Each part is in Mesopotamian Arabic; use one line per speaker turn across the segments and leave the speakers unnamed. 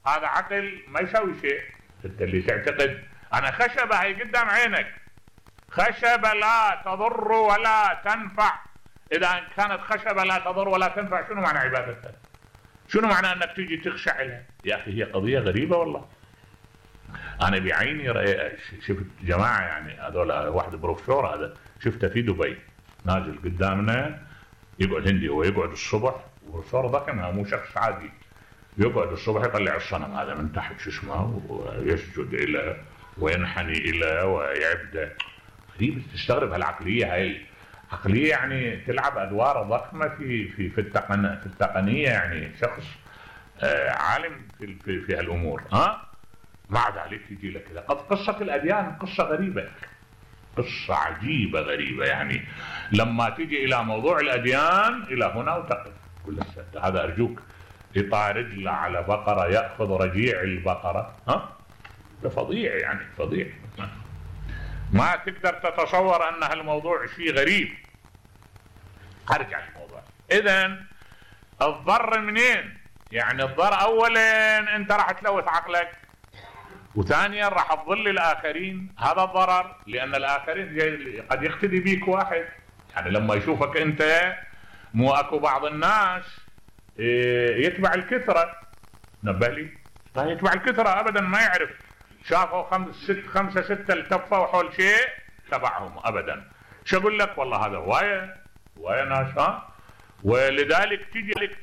هذا عقل ما يسوي شيء. انت اللي تعتقد انا خشبة هي قدام عينك، خشبة لا تضر ولا تنفع، اذا كانت خشبة لا تضر ولا تنفع شنو معنى عبادتها؟ شنو معنى انك تيجي تخشع لها؟ يا اخي هي قضية غريبة والله. انا بعيني شفت جماعة يعني هذول، واحد بروفيسور هذا شفته في دبي نازل قدامنا يقعد هندي، هو يقعد الصبح بروفيسور ضخم مو شخص عادي، يقعد الصبح يطلع الصنم هذا من تحت شو اسمه ويسجد له وينحني له ويعبده. غريب تستغرب هالعقلية هاي، عقلية يعني تلعب ادوار ضخمة في التقنية، يعني شخص عالم في هالامور. مع ذلك يجي لك كذا. قد قصة الاديان قصة غريبة، قصة عجيبة غريبة، يعني لما تيجي الى موضوع الاديان الى هنا وتقف كل السد. هذا ارجوك يطع رجله على بقرة يأخذ رجيع البقرة، ده فظيع يعني فظيع. ما تقدر تتصور ان هالموضوع شيء غريب. ارجع للموضوع. اذا الضر منين؟ يعني الضر اولا انت راح تلوث عقلك، وثانيا راح تضل الاخرين. هذا الضرر، لان الاخرين قد يقتدي بيك واحد، يعني لما يشوفك انت مو اكو بعض الناس يتبع الكثرة. نبه لي يتبع الكثرة ابدا، ما يعرف شافوا خمسة ستة التفوا حول شيء تبعهم ابدا. شو اقول لك والله هذا هواية ناس. ولذلك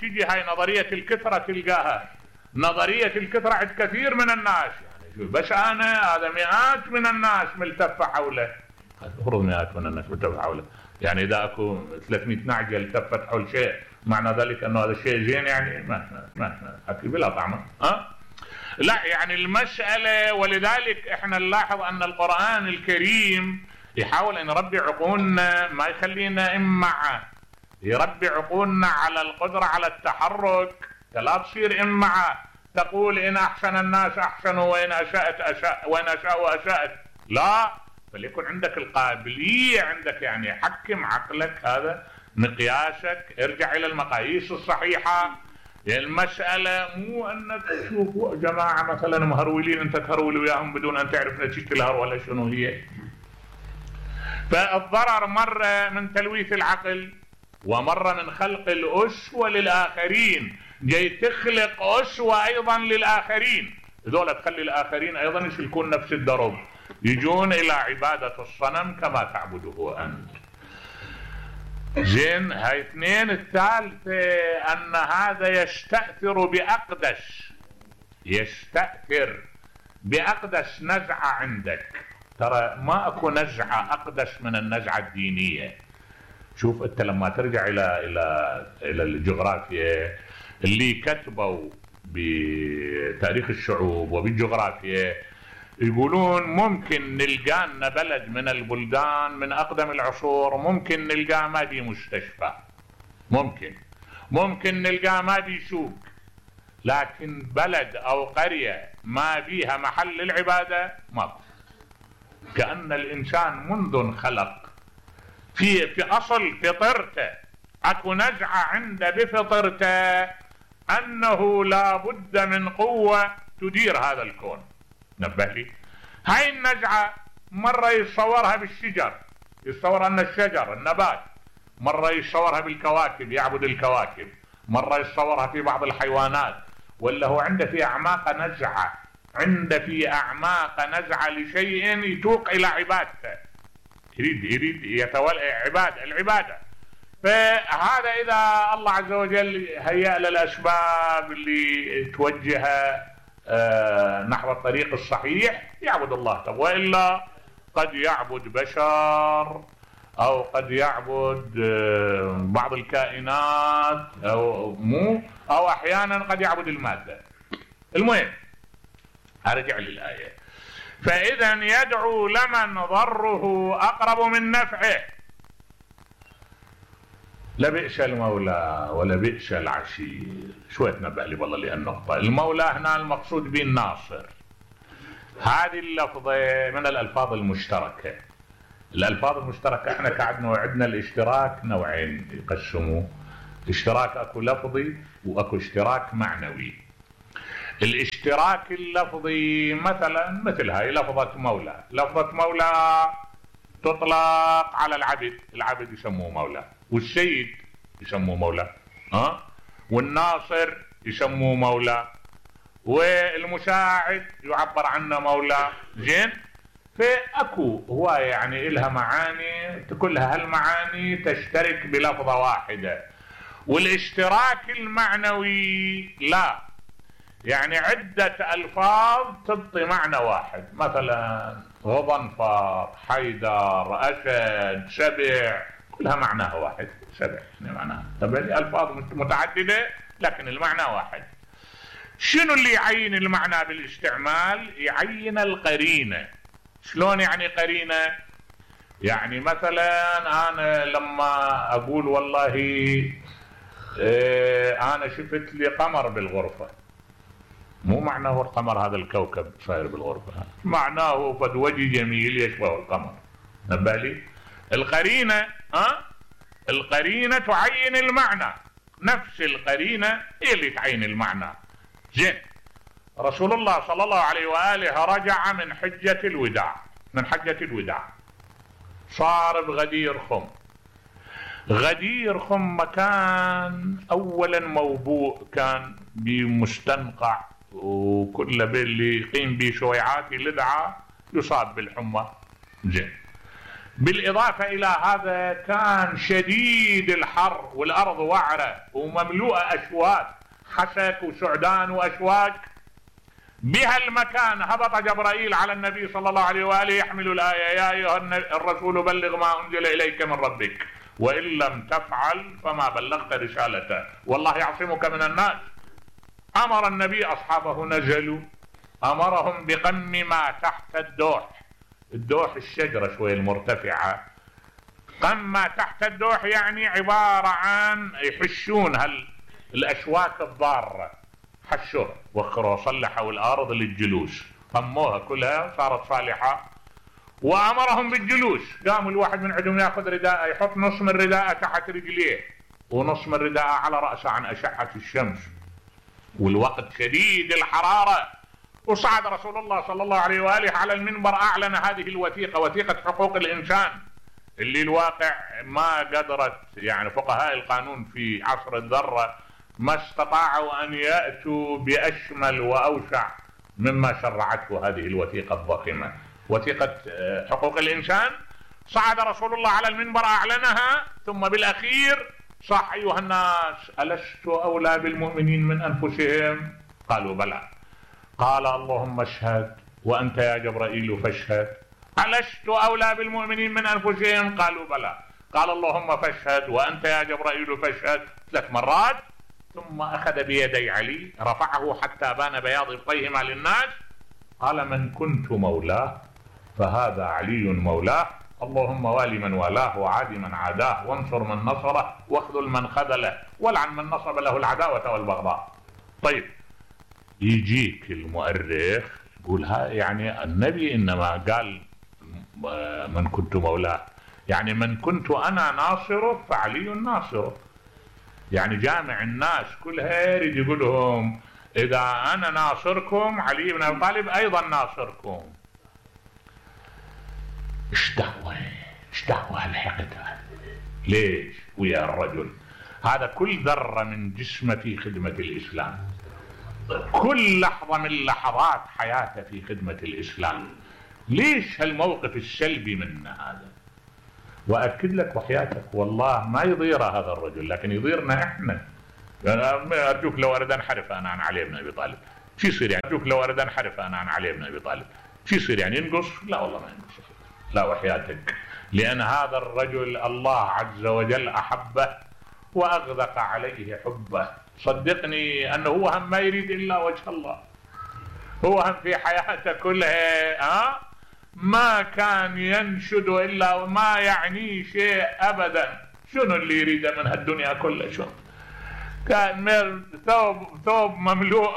تجي هاي نظرية الكثرة تلقاها نظرية الكثرة عند كثير من الناس، يعني بس انا هذا مئات من الناس ملتفة حوله. المفروض مئات من الناس ملتفة حوله، يعني اذا اكو 300 نعجة التفت حول شيء معنى ذلك انه هذا الشيء زين؟ يعني ما اكل بلا طعمه. لا يعني المسألة. ولذلك احنا نلاحظ ان القرآن الكريم يحاول ان يربي عقولنا، ما يخلينا امعة، يربي عقولنا على القدرة على التحرك. لا تصير امعة تقول ان احسن الناس احسنوا وان اشاء اسأت. لا، فليكن عندك القابلية، عندك يعني حكم عقلك، هذا مقياسك. ارجع الى المقاييس الصحيحة. المسألة مو انك تشوف جماعة مثلا مهرولين انت تهرول وياهم بدون ان تعرف نتيجة الهرولة شنو هي. فالضرر مرة من تلويث العقل، ومرة من خلق الأسوة للآخرين. جاي تخلق أسوة ايضا للآخرين، هذول تخلي الآخرين ايضا يسلكون نفس الدرب، يجون الى عبادة الصنم كما تعبده انت. زين، هاي اثنين. الثالثة ان هذا يستأثر بأقدس نزعة عندك. ترى ما اكو نزعة اقدس من النزعة الدينية. شوف انت لما ترجع الى الجغرافيا اللي كتبوا بتاريخ الشعوب وبالجغرافيا، يقولون ممكن نلقى لنا بلد من البلدان من اقدم العصور ممكن نلقى ما بي مستشفى، ممكن نلقى ما بي سوق، لكن بلد او قرية ما بيها محل العبادة ما. كأن الانسان منذ انخلق في اصل فطرته اكو نزعة عنده بفطرته انه لا بد من قوة تدير هذا الكون. نبه لي، هاي النزعة مرة يتصورها بالشجر، يتصور ان الشجر النبات، مرة يتصورها بالكواكب يعبد الكواكب، مرة يتصورها في بعض الحيوانات. ولا هو عنده في اعماق نزعة لشيء يتوق الى عبادته، يريد يتولى العبادة. فهذا اذا الله عز وجل هيأ للاسباب اللي توجهه نحو الطريق الصحيح يعبد الله. وإلا قد يعبد بشر او قد يعبد بعض الكائنات او احيانا قد يعبد المادة. المهم ارجع للآية. فاذا يدعو لمن ضره اقرب من نفعه، لبئس المولى ولبئس العشير. شوية نبه لي والله للنقطة. المولى هنا المقصود به الناصر. هذه اللفظة من الألفاظ المشتركة. الألفاظ المشتركة احنا عندنا الاشتراك نوعين يقسموه، اشتراك اكو لفظي واكو اشتراك معنوي. الاشتراك اللفظي مثلا مثل هاي لفظة مولى. لفظة مولى تطلق على العبد، العبد يسموه مولى، والسيد يسموه مولى، والناصر يسموه مولى، والمساعد يعبر عنه مولى. زين، فاكو هواية يعني إلها معاني، كلها هالمعاني تشترك بلفظة واحدة. والاشتراك المعنوي لا، يعني عدة ألفاظ تبطي معنى واحد، مثلا غضنفر، حيدر، أسد، سبع، كلها معناها واحد. سبع يعني معناها، طبعا ألفاظ متعددة لكن المعنى واحد. شنو اللي يعين المعنى بالاستعمال؟ يعين القرينة. شلون يعني قرينة؟ يعني مثلا أنا لما أقول والله أنا شفت لي قمر بالغرفة، مو معناه القمر هذا الكوكب صاير بالغرفة، معناه فد وجه جميل يشبه القمر. نبالي القرينة، القرينة تعين المعنى، نفس القرينة هي اللي تعين المعنى. زين، رسول الله صلى الله عليه وآله رجع من حجة الوداع، من حجة الوداع، صار بغدير خم. غدير خم مكان اولا موبوء كان بمستنقع، وكل باللي يقيم به شويعات لدعة يصاب بالحمى. زين، بالاضافة الى هذا كان شديد الحر، والارض وعرة ومملوءة اشواك، حسك وسعدان واشواك. بها المكان هبط جبرائيل على النبي صلى الله عليه وآله يحمل الآية: يا أيها الرسول بلغ ما أنزل إليك من ربك وإن لم تفعل فما بلغت رسالته والله يعصمك من الناس. أمر النبي أصحابه، نزلوا، أمرهم بقم ما تحت الدوح. الدوح الشجرة شوية المرتفعة، قم ما تحت الدوح يعني عبارة عن يحشون الأشواك الضارة، حشوها وخروا صلحوا الأرض للجلوس، قموها كلها صارت صالحة. وأمرهم بالجلوس، قاموا الواحد من عندهم ياخذ رداءه، يحط نص من رداءه تحت رجليه ونص من رداءه على رأسه عن أشعة الشمس، والوقت شديد الحرارة. وصعد رسول الله صلى الله عليه وآله على المنبر، أعلن هذه الوثيقة، وثيقة حقوق الإنسان، اللي الواقع ما قدرت يعني فقهاء القانون في عصر الذرة ما استطاعوا أن يأتوا بأشمل وأوسع مما شرعته هذه الوثيقة الضخمة، وثيقة حقوق الإنسان. صعد رسول الله على المنبر أعلنها، ثم بالأخير صح: أيها الناس ألست أولى بالمؤمنين من أنفسهم؟ قالوا بلى. قال: اللهم اشهد وأنت يا جبرائيل فاشهد. ألست أولى بالمؤمنين من أنفسهم؟ قالوا بلى. قال: اللهم فاشهد وأنت يا جبرائيل فاشهد 3 مرات. ثم أخذ بيدي علي رفعه حتى بان بياض ابطيهما للناس، قال: من كنت مولاه فهذا علي مولاه، اللهم والي من والاه وعاد من عاداه وانصر من نصره واخذل من خذله والعن من نصب له العداوة والبغضاء. طيب، يجيك المؤرخ يقول يعني النبي إنما قال من كنت مولاه، يعني من كنت أنا ناصره فعلي ناصره، يعني جامع الناس كلها يريد يقول لهم إذا أنا ناصركم علي بن أبي طالب أيضا ناصركم. ايش دعوة هالحقد هذا؟ ليش ويا الرجل هذا كل ذرة من جسمه في خدمة الإسلام، كل لحظة من لحظات حياته في خدمة الإسلام، ليش هالموقف السلبي منه هذا؟ وأكد لك وحياتك والله ما يضير هذا الرجل، لكن يضيرنا إحنا. أرجوك لو أريد أنحرف أنا عن علي بن أبي طالب شو يصير يعني؟ أرجوك لو أريد أنحرف أنا عن علي بن أبي طالب شو يصير يعني؟ ينقص؟ لا والله ما ينقص، لا وحياتك، لأن هذا الرجل الله عز وجل أحبه وأغدق عليه حبه. صدقني أنه هو هم ما يريد إلا وجه الله، هو هم في حياته كلها ما كان ينشد إلا وما يعني شيء أبدا. شنو اللي يريده من هالدنيا كلها؟ شنو كان ثوب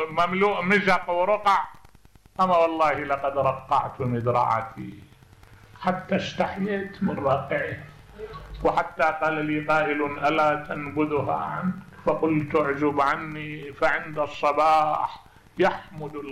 مملوء مزق ورقع، أما والله لقد رقعت مدرعتي حتى استحييت من راقعه، وحتى قال لي قائل: ألا تنبذها عنك؟ فقلت: اعزب عني فعند الصباح يحمد